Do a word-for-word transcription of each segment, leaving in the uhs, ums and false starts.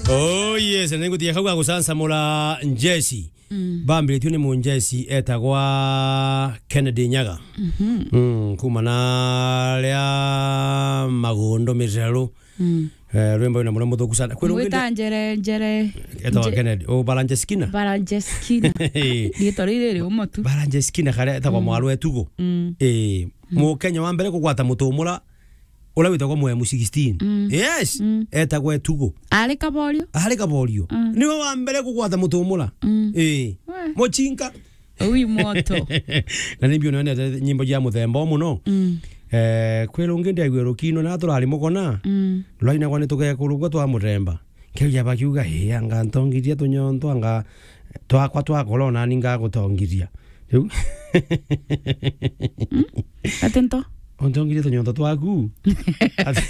Oh yes, na ningutia kau ga gucansamura njeci. Mm. Bambiritue ni munjeci etagwa Kennedy Nyaga. Mhm. Mm, kuma na ria Magundo Miraru. Mm. Eh, rwimbo rwina muria muthuku sana. Kwina ungi Mwita ndi- njere, njere, Etagwa nje- Kennedy. Oh, Balanjeskina. Balanjeskina. Riitwa riri ri umo tu. Balanjeskina karia etagwa Mm. mwaru Etugo. Mm. Eh, Mm. Mukenya wa mbere kugwata mutumura uria witagwa Muhemu sixteen. Mm. Yes. Mm. Etagwa Etugo. Ari Kaborio? Ari Kaborio. Mm. Niwe wa mbere kugwata mutumura. Mm. Eh. We. Muchinka. Ui moto. Na ni mbio nene nyimbo cia muthemba o muno. Mm. Eh, kwi rungi ndiaigua rukino na turari mugona. Mm. Rwainagwa ni tugekurugwa twa muthemba. Kiu jaba kiuga, "Ii, anga ntongirie tunyonto, anga twakwa twakura, o nani ngagutongiria." Riu. Mm? Ati nto? Untongirie tunyonto twaku? Ati,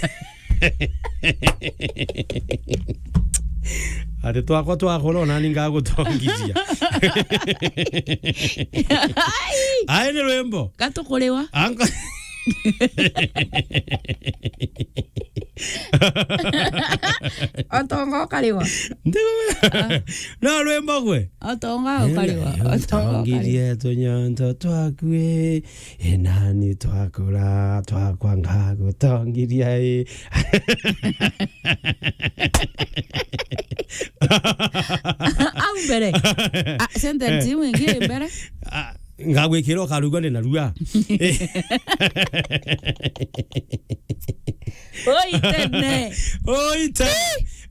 ati twakwa twakura, o nani ngagutongiria. Ai! Ai, ni rwimbo. Gatukuriwa. Anko- Otonga ukariwa. Ndigo- Ah. No rwimbo gwe? Otonga ukariwa. Eh, Otonga ukariwa. Utongirie tunyonto twaku, eh. Ĩ nani twakura, twakwa ngagutongiria, eh. Au mbere. Ah, sentence Eh. iu ingi mbere. Ah, ngagwikira ukarugwa ni narua. Oi, tene. Oi, tene.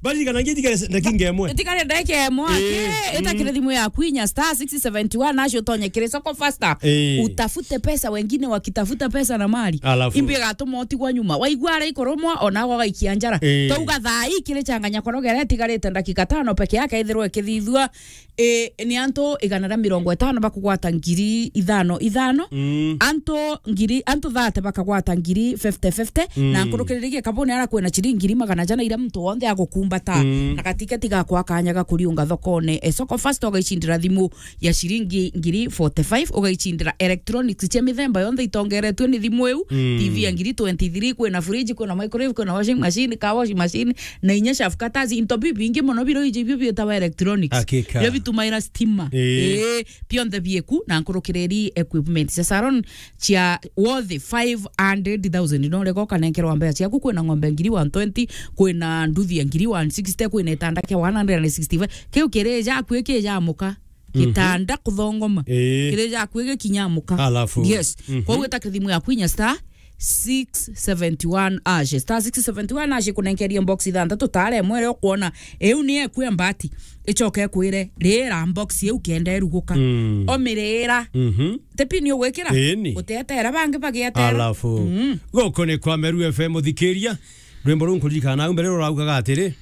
Baririkana ngi itigare ndagika imwe. Itigare ndagika imwe. Eh, ake, mm. Itakire thimu yaku inya star six seventy one, nacio utonye kiri soko faster. Eh. Utafute pesa, wengine wakitafuta pesa na mali. Alafu. Imbi igatuma utigwa nyuma. Waigua ara ikurumwa, ona agwa gaikia njara. Eh. Twauga thaa ii kiri changanya korogera itigarite ndagika tano peke yake ithirwe ikithithua. E, ni antu igana ria mirongo itano bakugwata ngiri ithano ithano. Mm. Antu ngiri, antu thate bakagwata ngiri fifty fifty. Mm. Na nkurukiriri gikabuni ara kwina ciringi ngiri magana jana iria muntu wonthe agukumbata. Mm. Na gatiketi gakwa kanya ga kuriunga thokone. E, soko fast ugaicindira thimu ya ciringi ngiri forty five, ugaicindira electronics cia mithemba yonthe itongeretue ni thimu iu. Mm. T V ya ngiri twenty three, kwina fridge, kwina microwave, kwina washing machine, car washing machine, na inya shafu katazi, into bibingi mono biro iji ibio bietawa electronics. Hakika. Bio bitumaira stima. Ii. Ii, bionthe bieku na nkurukiriri equipment cia salon cia worth five hundred thousand. No rega ukanenkerwa mbeca ciaku, kwina ng'ombe ngiri one twenty, kwina nduthi ya ngiri one sixty, kwina itanda kia one hundred and sixty-five. Kiu kiri jaku iki jamuka. Mhm. Gitanda kuthongoma. Ii. Kiri jaku gikinyamuka. Alafu. Yes. Mhm. Kwou ita kithimu yaku inya star six seventy one hash. Star six seventy one hash ikunenkerie box ithanthatu, tare imwe iria ukwona iu ni eku ya mbati. Icoke ikwire, "Rira box iu kenda iruguka." Mm. Omirira. Mhm. Ti pini ugwikira? Ii ni. Uteetera bangi bagietera. Alafu. Mm. Guku ni kwa Meru F M uthikiria. Rwimbo ruu nkuririkana nau mbere ruraugaga atiri,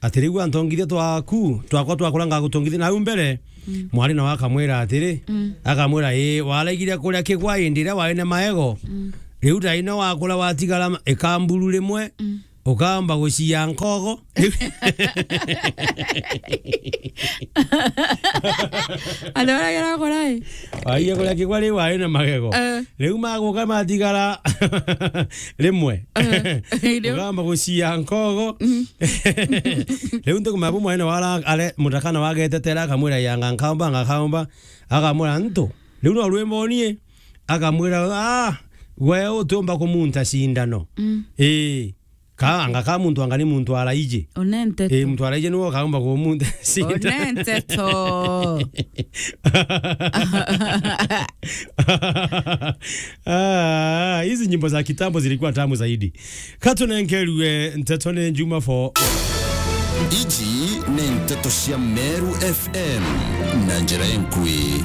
ati riu antongithia twaku, twakwa twakura ngagutongithia nau mbere. Mm. Mwari nawe akamwira atiri, mm, akamwira, "Ii, waraigire kuria kigwa indi iria wari na maego. Mm. Riu thaino wakura watigara ma-, ikamburu rimwe, mm, ukamba gucia nkogo." Andu baria gerakora ii. Waigire kuria kigwa riu wari na magego. Eh. Riu maguka matigara rimwe. Eh, ndio. Ugamba gucia nkogo. Mm. Riu ntuku mabu mwene wara are mutakana wagetetera akamwira, "Yanga nkaumba, ngakaumba." Akamwira, "Ntu, riu no rwimbo nie." Akamwira, "Ah, gwe utiumba kumunta cindano." Mm. Ii. Ka, anga ka muntu anga ni muntu araiji. Onente. Eh, muntu araiji niwe ukaumba kumunta cindano. Onente to. Ah, hizi nyimbo za kitambo zilikuwa tamu zaidi. Katunenkerue nteto ni Juma for. Iji ni nteto cia Meru F M na njira enkui.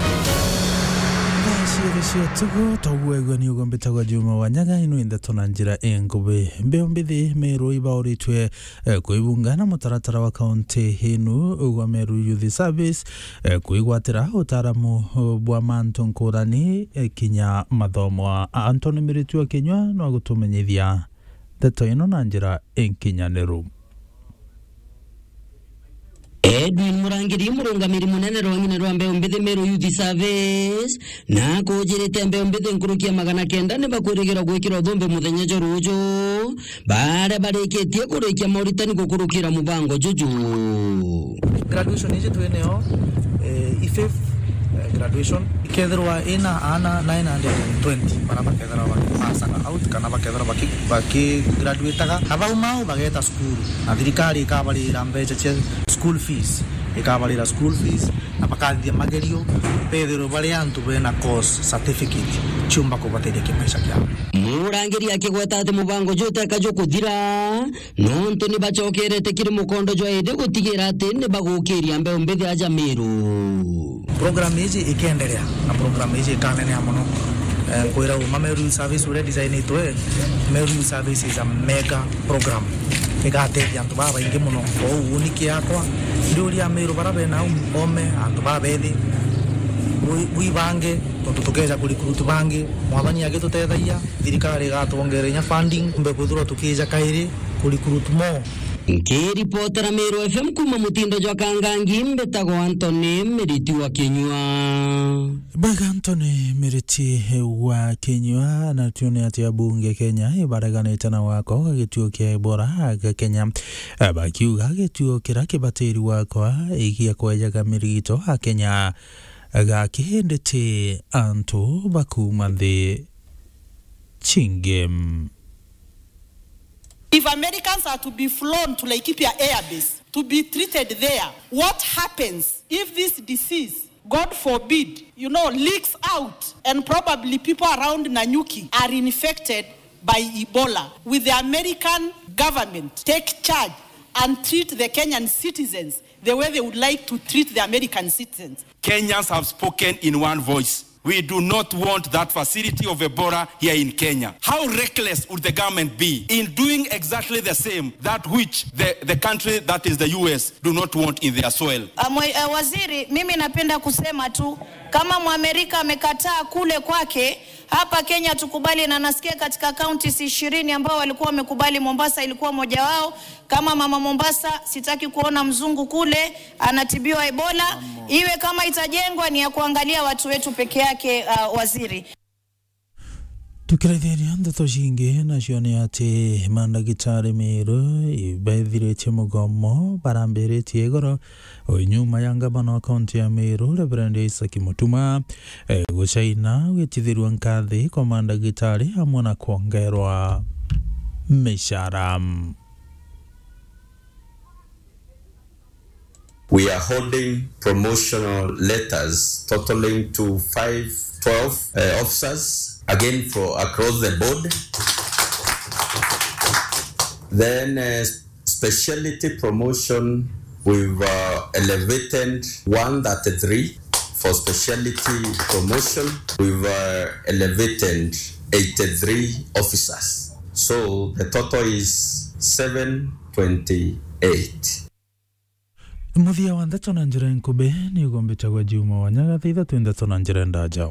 Thaa ciothe cia tugo, twaguegua ni ugo mbitagwa Juma wa Nyaga, ino nteto na njira enkubi. Mbeo mbithi Meru ibauritwe, eh, kwibunga na mutaratara wa kaunti inu gwa Meru Youth Service, eh, kwigwatira utaaramu, eh, bwa mantu nkurani, eh, kinya mathomo. A-, Anthony Miritu wa Kinyua no agutumenyithia nteto ino na njira inkinyaniru. Edwin Murangiri, murungamiri munene rwa ng'ine rwa mbeu mbithi Meru Youth Service, na akujirite mbeu mbithi nkuruki ya magana kenda ni bakwirigirwa gwikirwa thumbi muthenya jwa ruju, baria barikitie kurikia moritani gukurukira mubango juju. Graduation iji twinayo, eh, i fifth, eh, graduation. Ikethirwa ina aana nine hundred and twenty baria bakethirwa bakipasaga out kana bakethirwa baki-, bakigraduataga. Na bau mau bageta cukuru. Na thirikari ikabarira mbeca cia school fees. Ikabarira school fees. Na bakathithia magerio, bethirwe bari antu bena course certificate ciumba kubateithia kimaisha kiao. Murangiri akigweta ati mubango juu uteka jukuthira, nontu ni bacokerete kiri mukondo jwa indi gutigira ati ni bagukiria mbeu mbithi aja Meru. Program iji ikenderea, na program iji ikaneneha mono. Eh, nkwira uma Meru Youth Service uria designitwe, Meru Youth Service is a mega program. Igatethia antu babaingi mono. Kwou uni kiakwa, ndiuria Meru bara bena um-, ome, antu babethi, bwi-, bwibange, tontu tukeja kurecruit bangi, Mwathani agitutethagia, thirikari igatwongera inya funding, mbe kwithirwa tukija kairi kurecruit more. Nkiripotera Meru F M kuma mutindo jwa Kangangi, mbitagwa Anthony Miriti wa Kinyua. Bwega Anthony Miriti wa Kinyua. Na tuone ati abunge Kenya ibareganite na wako gituo kia Ebola ga Kenya, bakiuga gituo kira kibatiri wakwa igia kwejaga mirigito a Kenya gakinditi antu bakuma nthi chingi. If Americans are to be flown to Laikipia Air Base to be treated there, what happens if this disease, God forbid, you know, leaks out and probably people around Nanyuki are infected by Ebola? Will the American government take charge and treat the Kenyan citizens the way they would like to treat the American citizens? Kenyans have spoken in one voice. We do not want that facility of Ebola here in Kenya. How reckless would the government be in doing exactly the same that which the, the country, that is the U S, do not want in their soil? Uh, mwe-, uh, waziri, mimi napenda kusema tu, kama Mwamerika amekataa kule kwake, hapa Kenya tukubali, na nasikia katika counties ishirini ambao walikuwa wamekubali, Mombasa ilikuwa moja wao. Kama mama Mombasa, sitaki kuona mzungu kule anatibiwa Ebola. Iwe kama itajengwa ni ya kuangalia watu wetu peke yake, uh, waziri. Tukiraithiria ndeto cingi, nacio ni ati mandagitari Meru ibethiritie mugomo barambiritie igoro o nyuma ya ngavana wa kaunti ya Meru, Reverend Isaac Mutuma, eh, gucaina gwitithirua nkathi kwa mandagitari amwe na kwongerwa micara. We are holding promotional letters totaling to five twelve, uh, officers, again for across the board. Then, uh, speciality promotion, we've, uh, elevated one thirty-three for speciality promotion. We've, uh, elevated eighty-three officers. So the total is seven twenty-eight. Muthia wa ndeto na njira nkubi ni ugombitagwa Juma wa Nyagatha, itha twi ndeto na njira ndaja.